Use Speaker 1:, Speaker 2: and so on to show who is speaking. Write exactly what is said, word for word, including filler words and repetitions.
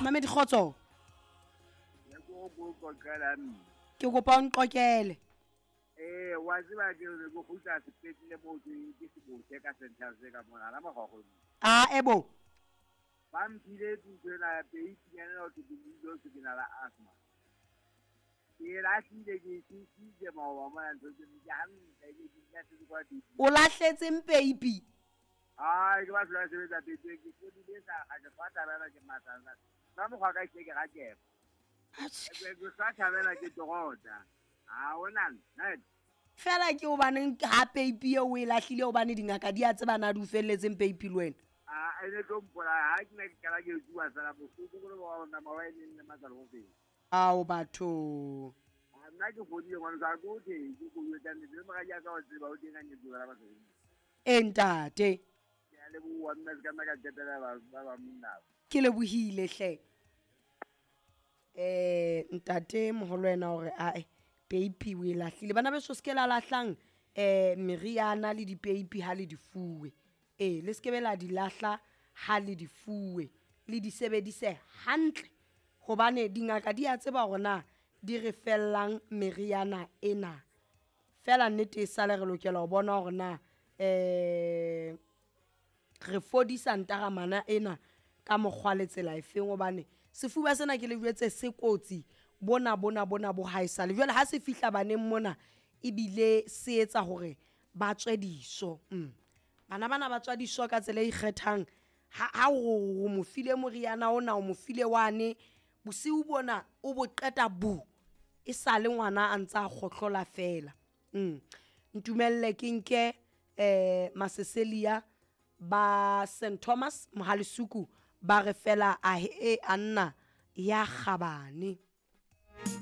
Speaker 1: Mamedi kgotso.
Speaker 2: Ne ke o qoqela mme.
Speaker 1: Ke kopa o nqokele.
Speaker 2: Eh, wa tseba ke re ke kgutla sepetlele moo ke ke sebotse ka central se ka mona la mogogo.
Speaker 1: Ah, ebo.
Speaker 2: Ba mphile ntho ena ya peipinyana ho thwe ke dijo ke na la asthma. Ke lahlile ke sisitse maoba mona ntho tse ke hantle ke ke lahletse kwa di.
Speaker 1: O lahletseng peipi?
Speaker 2: Ai, ke batho ba sebetsa peipi ke fodile sa ga ke fa tabela ke matsana. Ba mokgwa ka ke ke ga ke. Ke sa thabela ke torota. Ha hona nna.
Speaker 1: Fela ke hobaneng ha peipi eo o e lahlile hobane dingaka di a tseba na di o felletseng peipi le wena?
Speaker 2: Ah, ene tlo mpolaya ha ke ne ke qala ke tsuba fela bohloko bo le ba ona mawa e neng le matsalo ho feta.
Speaker 1: Ao batho.
Speaker 2: Ah, nna ke fodile ngwana ka go the ke go etsa nnete le moradi a ka o tseba o teng a nyetse bana ba tseo.
Speaker 1: E ntate.
Speaker 2: Ke a leboha mme se ka nna ka qetela ba ba ba monna.
Speaker 1: Ke lebohile hle. Eh ntate moholo wena hore ae peipi o e lahlile. Bana beso se ke la lahlang eh meriana le dipeipi ha le di fuwe. Eh le se ke be la di lahla ha le di fuwe, le di sebedise hantle hobane dingaka di a tseba hore na di re fellang meriana ena. Fela nnete e sale re lokela ho bona hore na eh re fodisa ntaramana ena ka mokgwa le tsela efeng hobane sefuba sena ke le jwetse se kotsi bona bona bona bo haesale. Jwale ha se fihla baneng mona ebile se etsa hore ba tswe diso. Mm. Bana bana ba tswa diso ka tsela e ikgethang. Ha ha o mo file moriana ona o mo file wane bosiu bona o bo qeta bu e sale ngwana a ntsa kgohlola fela. Mm. Ntumelle ke nke eh Maseselia ba Saint Thomas Mohalisuku ba re fela a e anna ya kgabane.